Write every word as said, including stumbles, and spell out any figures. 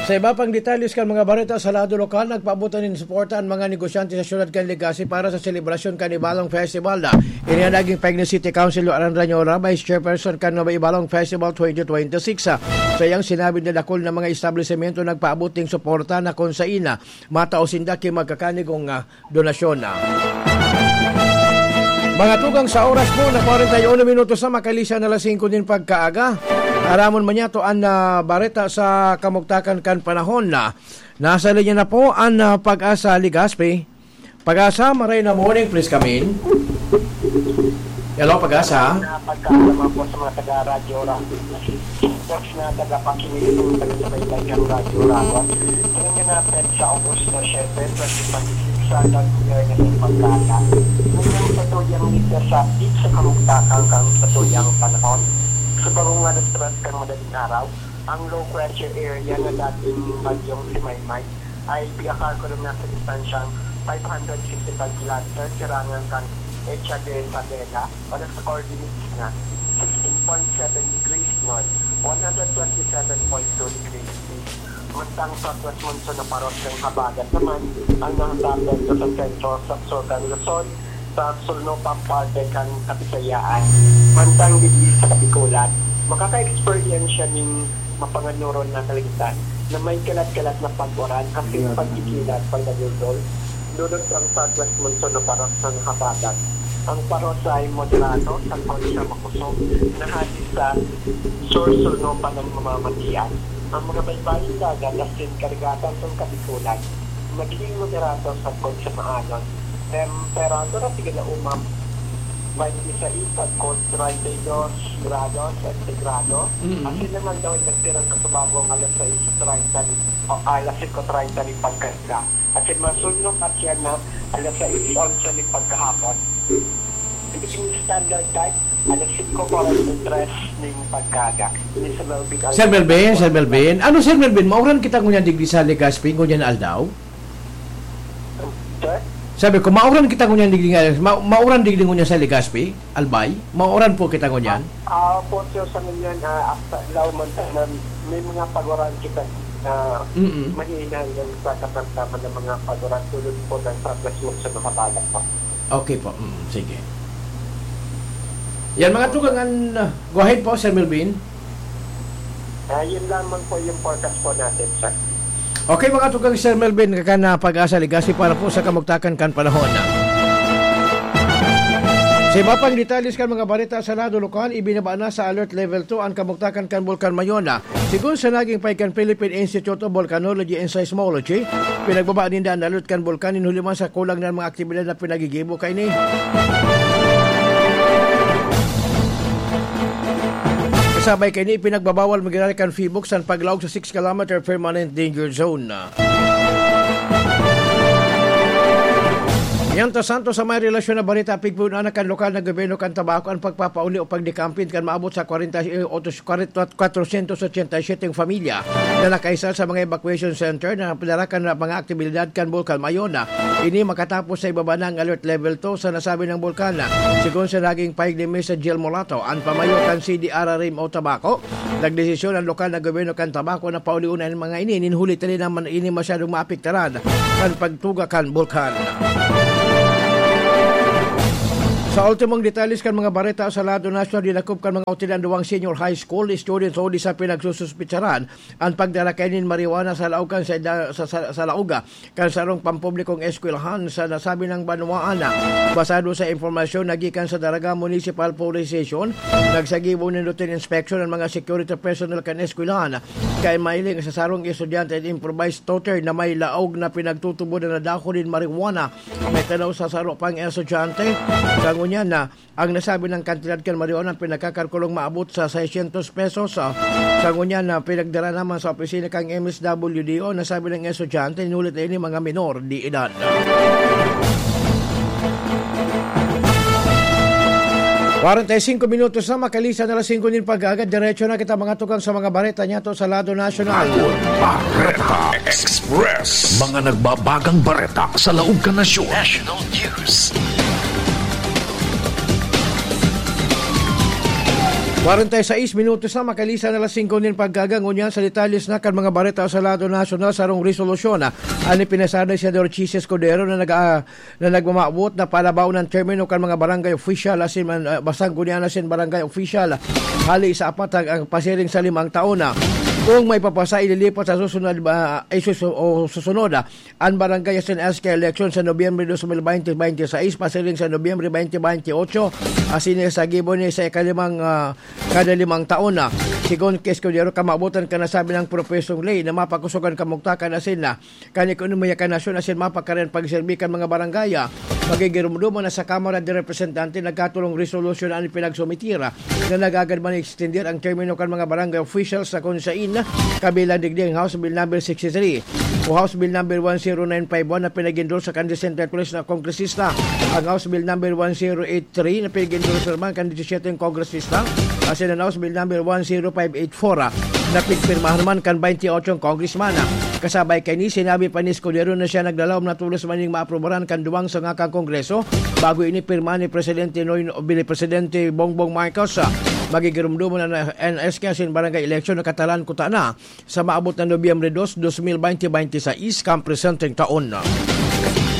Sa iba pang detalles kan mga bareta sa lado lokal, nagpaabot na nin suporta an mga negosyante sa siyudad kan Legazpi para sa selebrasyon kan Ibalong Festival. Ini an naging pahayag ni City Councilor Aran Rañora, Vice Chairperson kan Nueva Ibalong Festival twenty twenty-six. Sa iyang sinabi na dakul na mga establisemento nagpaabot ning suporta na kun sain na matao sinda ki magkakanigong, ah, donasyon na. Mga tugang, sa oras po na kwarenta y uno minutos na, makalihis na alas singko nin pagkaaga. Aramon man niyato an, ah, bareta sa kamugtakan kan panahon na. Nasa linya na po an, ah, Pag-asa Legazpi. Pag-asa, maray na morning, please come in. Hello, Pag-asa. Na pagkakamang po sa mga taga-Radyo Ra-, Sports na tagapakinig ng taga-subaybay ng Radyo Rawa. Ngayon nga natin sa Agosto siyete, twenty twenty-six, sa Don Pierre na sa pagkata. Ngayon, sa tuyang dito sa Beach sa Kamugtakan kang sa tuyang panahon. Sa bagong nga restaurant kang madaling araw, ang low pressure area na dating bagyong si Maymay ay piyakar ko na sa distansyang five hundred fifty-five kilometers, sirangan kan Echa de Isabela, o nasa coordinates na sixteen point seven degrees north, one hundred twenty-seven point two degrees east. Mantang southwest monsoon na paros ng habagat naman ang nakatapento sa sentro sa Sur kan Luzon, sa sulno pang parte kan Kabisayaan. Mantang digdi sa Kabikulan, makaka-experience siya ning mapanganuron na kaligtan na may kalat-kalat na pag-uran asin pagkikilat pag nagdodol. Dulot ang southwest monsoon na paros sa habagat. Ang paros ay moderado, sagkod sa makusog, na hali sa sur-sulno pa ng mamamatian. Ang mga baybayong dagat asin karagatan kan Kabikulan, magiging moderado sagkod sa maanon. Temperatura, sige na umam, twenty-six sagkod treinta y dos grados sentigrado. Mm. Asin naman daw, nagtirang kasubago ang alas sais treinta ni, o alas singko treinta ni pagkasga. Asin masunok at yan na alas sais onse ni pagkahapon. Philippine Standard Time, alas singko kwarenta y tres ning pagkaga. Ini sa Melvin Sir Melvin, Alvarez. Sir Melvin. Ano, Sir Melvin, mauran kita ngunyan digdi sa Legazpi, ngunyan aldaw? Sir? Sabi ko, mauran kita ngunyan digdi nga, ma-, mauran digdi ngunyan sa Legazpi, Albay? Mauran po kita ngunyan? Ah, ah, po, sir, sa ngunyan, ah, after, law man tayo na may mga pag-uran kita na Mm-mm. mahina hanggang sa katamtaman ng mga pag-uran tulad po ng Southwest Monsoon na kabalak po. Okay po. Mm, sige. Yan, mga tugang, ah, go ahead po, Sir Melvin. Ah, yun lamang po yung forecast po natin, sir. Okay, mga tugang, Sir Melvin, kakan na Pag-asa Legazpi para po sa kamugtakan kan panahon. Sa iba pang detalles kan mga bareta sa lado lokal, ibinaba na sa Alert Level two an kamugtakan kan Bulkan Mayona. Sigon sa naging pahayag kan Philippine Institute of Volcanology and Seismology, pinagbaba ninda an alert kan bulkan nin huli man sa kulang na mga aktibidad na pinagigibo kaini. Kasabay kaini, ipinagbabawal magirari kan Phibok san paglaog sa six kilometer permanent danger zone. Mientras tanto, sa may relasyon na bareta, pigpunan na kan lokal na gobyerno kan Tabaco an pagpapauli o pagdekampin kan maabot sa kwarenta, eh, otos-, kwatrosyentos otsenta y siyete pamilya na nakaisa sa mga evacuation center na pinarakan na mga aktibidad kan Bulkan Mayona. Ini makatapos sa ibaba na ang Alert Level two sa nasabi ng bulkan. Sigon sa naging pahayag ni Mister Jill Molato, an pamayo kan C D R R M o Tabaco, nagdesisyon ang lokal na gobyerno kan Tabaco na paulion an mga ini, nin huli ta di naman ini masyadong maapektaran kan pagtuga kan bulkan. Sa ultimong detalles kan mga bareta sa lado nasyonal, dinakop kan mga otoridad an duwang senior high school students o di sa pinagsususpitsaran an pagdara kaini nin marijuana sa laog kan sa, sa, sa, sa laog kan sarong pampublikong eskwelahan sa nasabi ng banwaan. Basado sa impormasyon na gikan sa Daraga Municipal Police Station, nagsagibo nin routine inspection ang mga security personnel kan eskwelahan. Kaya mailing sa sarong estudyante at improvised toter na may laog na pinagtutubod na dahon nin marijuana. May tanaw sa saro pang estudyante. Sa ngunyan na, ang nasabi ng kantidad kan marijuana ang pinagkakalkulong maabot sa seiscientos pesos. Ah, sa ngunyan na pinagdara naman sa opisina kang M S W D O, nasabi ng estudyante, inulit na ini mga minor de edad. Kwarenta y singko minutos na makalihis an alas singko nin pag-aaga, diretso na kita mga tugang sa mga bareta niyato sa lado nasyonal. Bareta Express. Mga nagbabagang bareta sa laog kan nasyon. National News. Kwarenta y seis minutos na, makalisan na alas singko nin pagkaga. Ngunyan sa detalles na kan mga bareta sa lado nasyonal, sarong resolusyon, ah, an ipinasar ni Senador Chiz Escudero na nag-, ah, na nagmamawot na palabaw ng termino kan mga barangay official, asin man, ah, basta ngunyan asin barangay official. Hali sa apat ang, ang pasiring sa limang taon na. Kung may papasa, ililipat sa susunod, ah, ay susu-, o susunod, ah, an barangay asin S K election sa Nobyembre dos mil baynte, baynte sais, pasiring sa Nobyembre baynte baynte otso, asin sa gibo ni sa ikalimang, ah, kada limang taon na. Sigon ki Escudero, kamabotan kan nasabi ng propesong ley na mapakusog an kamugtakan asin na kan ekonomiya kan nasyon asin mapakari an pagserbi kan mga barangay, ah, magigirumduman na sa Kamara de Representante nagkatulong resolusyon an pinagsumitir, ah, na nagagad man extender ang termino kan mga barangay officials sa konsein, kabilang digdi ang House Bill Number sixty-three o House Bill Number one zero nine five one na pinag-endorse sa kan disentatulis na kongresista, ang House Bill Number one zero eight three na pinag-endorse naman kan disisiyete kongresista, asin ang House Bill Number one zero five eight four, ah, na pigpirmahan man kan baynte otso congressman. Kasabay kaini, sinabi pa ni Escudero na siya naglalaom na tolos man ning maaprubaran kan duwang sanga kan Kongreso bago ini pirma ni Presidente Noy, Vice Presidente Bongbong Marcos. Ah, magigirumduman na N S K asin barangay election na katalan kuta na sa maabot na Nobyembre dos, dos mil baynte, baynte sais kan presenteng taon.